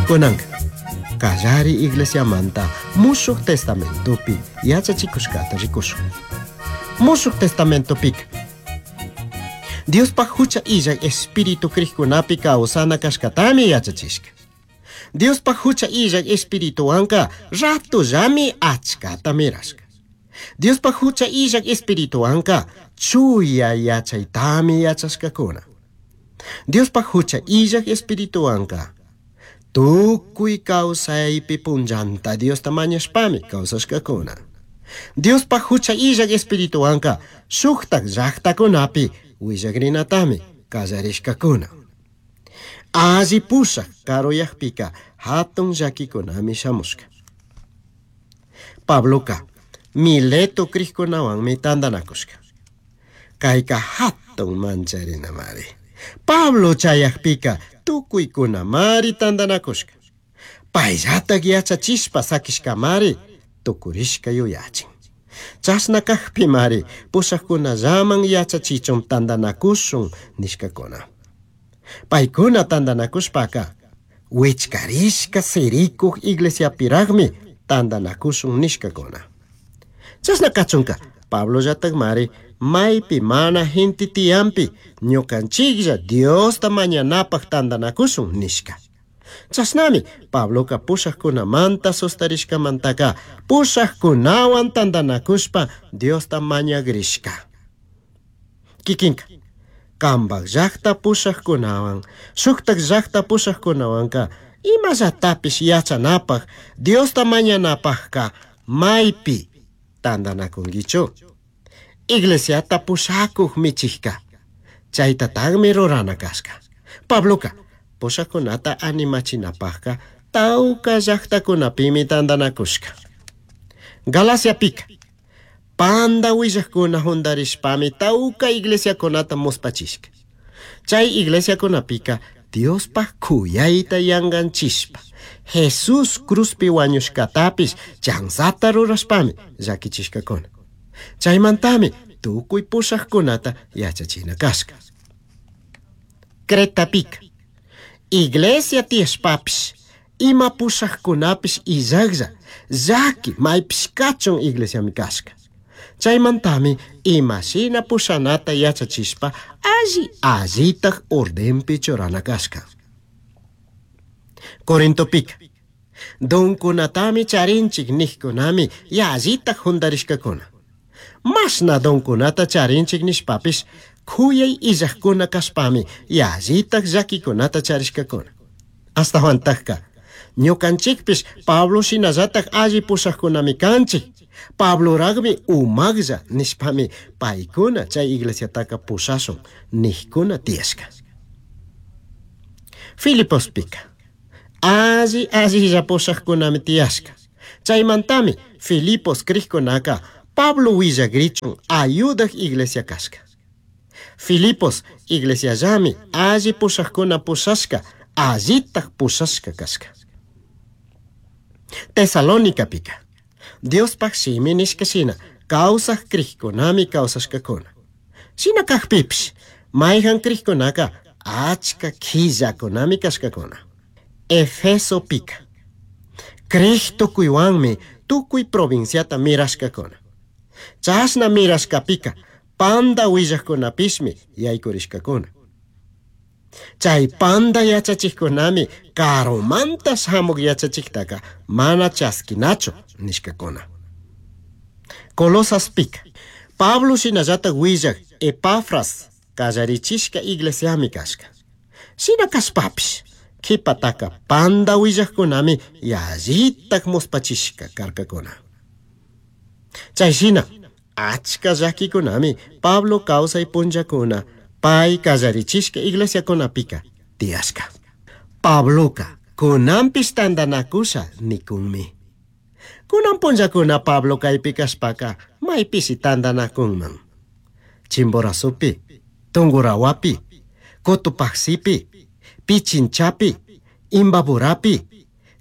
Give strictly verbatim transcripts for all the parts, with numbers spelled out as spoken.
Kunanka kallari iglesiamanta Mushuq Testamentopi yachachikushkata rikushun. Mushuq Testamentopika Diospaj hucha illak espíritu krikkunapi kawsana kashkatami yachachishka. Diospaj hucha illak espirituwanka ratullami achkata mirashka. Diospaj hucha illak espirituwanka chuya yachaytami yachashkakuna. Diospaj hucha illak espirituwanka tukuy kawsaypi punllanta Diosta mañashpami kawsashkakuna. Diospaj hucha illak espirituwanka shuktak llaktakunapi willakrinatami kallarishkakuna. Alli pushak karuyakpika hatun llakikunami shamushka. Pabloka Mileto krikkunawanmi tantanakushka. Kayka hatun mancharinamari. Pablo chayakpika tukuykunamari tantanakushka. Payllatak yachachishpa sakishkamari tukurishka yuyachin. Chashna kakpimari pushakkunallaman yachachichun tantanakushun nishkakuna. Paykuna tantanakushpaka wichkarishka sirikuk iglesiapiraqmi tantanakushun nishkakuna. Chashna kachunka Pablollatakmari maypi mana gente tiyampi ñukanchiklla Diosta mañanapaq tantanakushun nishka. Chashnami Pabloka pushakkunamanta sustarishkamantaka pushakkunawan tantanakushpa Diosta mañagrishka. Kikinka kambak llaqta pushakkunawan shuktak llaqta pushakkunawanka imallatapish yachanapaq Diosta mañanapaqka maypi tantanakunkichu. Iglesiata pushakuq michikka chaytataqmi rurana kashka. Pabloka pushakkunata animachinapaqka tawka llaqtakunapimi tantanakushka. Galaciapika panda willaqkuna hundarishpami tawka iglesiakunata muspachishka. Chay iglesiakunapika Diospaj kuyayta yanganchishpa Jesús cruzpi wañushkatapish chanzata rurashpami llakichishkakuna. Chaymantami tukuy pushaqkunata yachachina kashka. Cretapika iglesia tiyashpapish ima pushaqkunapish illaqlla llaki maypish kachun iglesiami kashka. Chaymantami imashina pushanata yachachishpa alli allitaq ordenpi churana kashka. Corintopika donkunatami charinchik niqkunami yallitaq hundarishkakuna. Mashna donkunata charinchik nishpapish kuyay illaqkuna kashpami yallitaq llakikunata charishkakuna. Ashtawantakka ñukanchikpish Pablo shinallatak alli pushaqkunami kanchik. Pabloraqmi umaqlla nishpami paykuna chay iglesiataka pushashun niqkuna tiyashka. Filipospika alli allilla pushaqkunami tiyashka. Chaymantami Filipos krikkunaka Pablo willakrichun ayudaq iglesia kashka. Filipos iglesiallami alli pushaqkuna pushashka allitaq pushashka kashka. Tesalonicapika Diospaj shimi nishka shina kawsaq krikkunami kawsashkakuna. Shina kakpipish mayhan krikkunaka achka killakunami kashkakuna. Efesopika krik tukuywanmi tukuy provinciata mirashkakuna. Chashna mirashkapika panda willaqkunapishmi yaykurishkakuna. Chay panda yachachikkunami karumanta shamuq yachachiktaka mana chaskinachu nishkakuna. Colosaspika Pablo shinallatak willaq Epafras kallarichishka iglesiami kashka. Shina kashpapish qhipataka panda willaqkunami yallitak muspachishka karkakuna. Chay shina achka llakikunami Pablo kawsay punllakuna pay kallarichishka iglesiakunapika tiyashka. Pabloka kunanpish tantanakusha nikunmi. Kunan punllakuna Pablo kaypi kashpaka maypishi tantanakunman. Chimborazopi, Tungurahuapi, Cotopaxipi, Pichinchapi, Imbaburapi,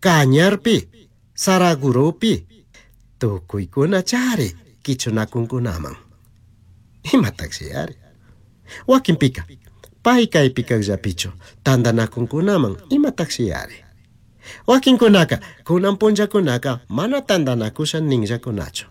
Cañarpi, Saragurupi, tukuykuna chari kichunakunkunaman. Imataqshi ari. Wakinpika, pay kaypi kaqllapichu tantanakunkunaman imataqshi ari. Wakinkunaka kunan punllakunaka mana tantanakusha ninllakunachu.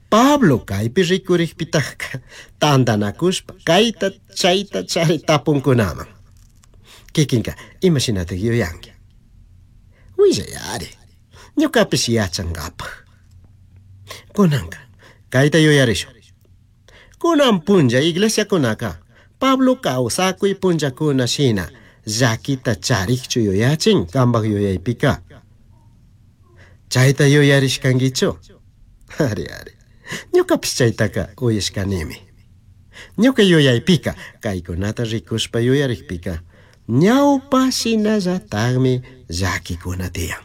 Pablo kaypi rikurikpitakka tantanakushpa kayta chayta chari tapunkunaman. Kikinka imashinatak yuyanki? Willayari, ñukapish yachankapaj. Kunanka kayta yuyarishun. Kunan punlla iglesiakunaka Pablo kawsakuy punllakuna shina llakita charikchu yuyachin kanpak yuyaypika. Chayta yuyarishkankichu? Ari ari, ñukapish chaytaka uyashkanimi. Ñuka yuyaypika kaykunata rikushpa yuyarikpika ñawpa shinallatakmi llakikuna tiyan.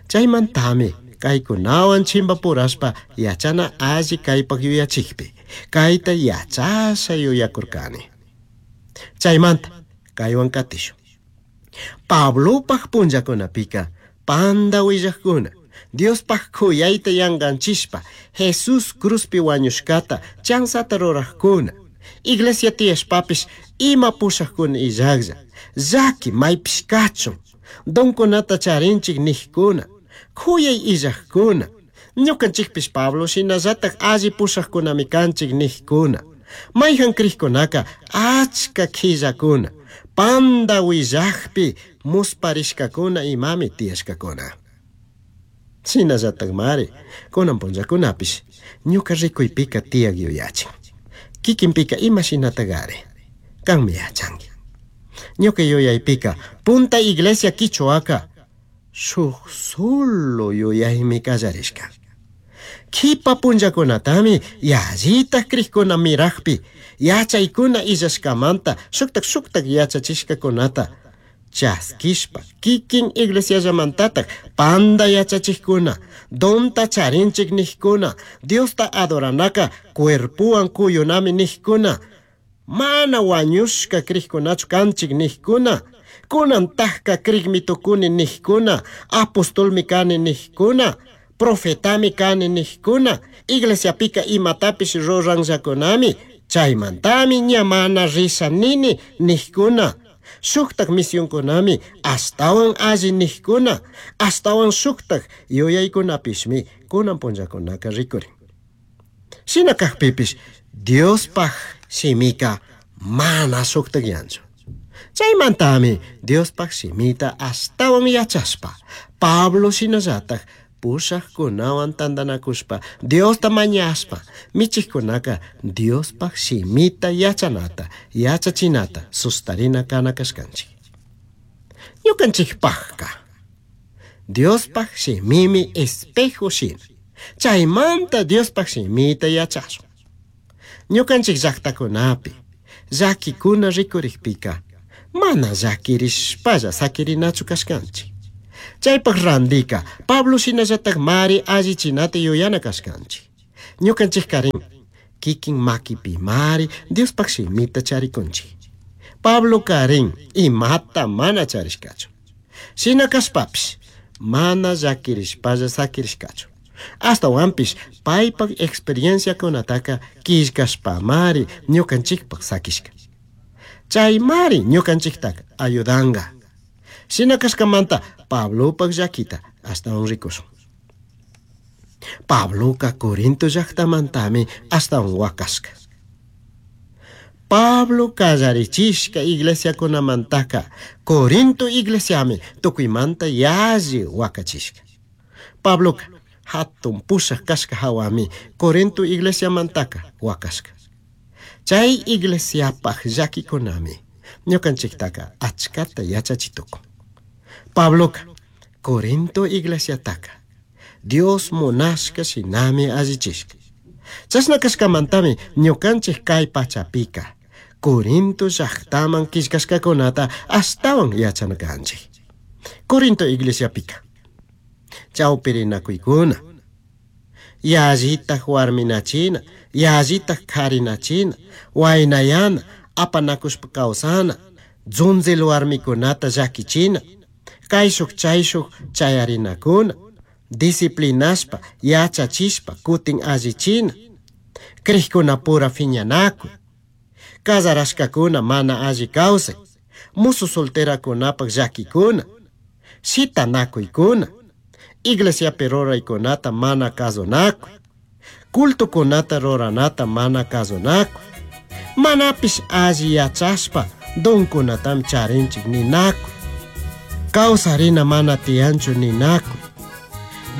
Chaymantami kaykunawan chimpapurashpa yachana alli kaypak yuyachikpi kayta yachasha yuyakurkani. Chaymanta kaywan katishun. Pablopak punllakunapika panda willakuna Diospaj kuyayta yanganchishpa Jesús cruzpi wañushkata chanzata rurajkuna iglesia tiyashpapish ima pushajkuna illaklla llaki maypish kachun donkunata charinchik nijkuna kuyay illajkuna ñukanchikpish Pablo shinallatak alli pushajkunami kanchik nijkuna mayjan crijkunaka achka qhillakuna panda willakpi musparishkakuna imami tiyashkakuna. Shinallatakmari kunan punllakunapish ñuka rikuypika tiyak yuyachin. Kikinpika ima shinatakari kanmi yachanki. Ñuka yuyaypika punta iglesia quichuaka shuk solo yuyaymi kallarishka. Kipa punllakunatami yallitak crijkuna mirakpi yachaykuna illashkamanta shuktak shuktak yachachishkakunata chaskishpa kikin iglesiallamantatak panda yachachikkuna donta charinchik nijkuna Diosta adoranaka cuerpuwan kuyunami nijkuna mana wañushka crijkunachu kanchik nijkuna kunantakka crikmi tukuni nijkuna apostolmi kani nijkuna profetami kani nijkuna iglesiapika imatapish ruranllakunami chaymantami ña mana risha nini nijkuna shuktak misionkunami ashtawan alli nijkuna ashtawan shuktak yuyaykunapishmi kunan punllakunaka rikurin. Shina kakpipish Diospaj shimika mana shuktakyanchu. Chaymantami Diospaj shimita ashtawan yachashpa Pablo shinallatak pushajkunawan tantanakushpa Diosta mañashpa michikkunaka Diospaj shimita yachanata yachachinata sustarina kana kashkanchik. Ñukanchikpajka Diospaj shimimi espejo shina. Chaymanta Diospaj shimita yachashun. Ñukanchik llaktakunapi llakikuna rikurikpika mana llakirishpalla sakirinachu kashkanchik. Chaypak randika Pablo shinallatak mari allichinata yuyana kashkanchik. Ñukanchik karin kikin makipi mari Diospaj shimita charikunchik. Pablo karin imata mana charishkachu. Shina kashpapish mana llakirishpalla sakirishkachu. Ashtawanpish paypak experienciakunataka killkashpamari ñukanchikpak sakishka. Chaymari ñukanchiktaka ayudanga. Shina kashkamanta Pablopak llakita ashtawan rikushun. Pabloka Corinto llaktamantami ashtawan wakashka. Pablo kallarichishka iglesiakunamantaka Corinto iglesiami tukuymanta yalli wakachishka. Pabloka hatun pushak kashka hawami Corinto iglesiamantaka wakashka. Chay iglesiapaj llakikunami ñukanchiktaka achkata yachachitukun. Pabloka Corinto iglesiataka Dios munashka shinami allichishka. Chashna kashkamantami ñukanchik kay pachapika Corinto llaktaman killkashkakunata ashtawan yachana kanchik. Corinto iglesiapika chawpirinakuykuna yallitak warminachina yallitak karinachina waynayana apanakushpa kawsana dzunzil warmikunata llakichina kayshuk chayshuk chayarinakuna disciplinashpa yachachishpa kutin allichina crijkunapura fiñanakuy casarashkakuna mana alli kawsay musu solterakunapak llakikuna Shitanakuykuna, iglesiapi ruraykunata mana kasunakuy, cultokunata ruranata mana kasunakuy, manapish alli yachashpa donkunatami charinchik ninakuy, kawsarina mana tiyanchu ninakuy,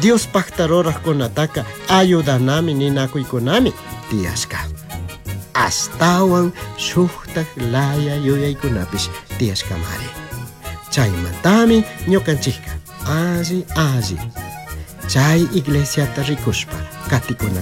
Diospakta rurajkunataka ayudanami ninakuykunami tiyashka. Ashtawan shuktak laya yuyaykunapish tiyashkamari. Chaymantami ñukanchikka alli alli chay iglesiata rikushpa katikuna.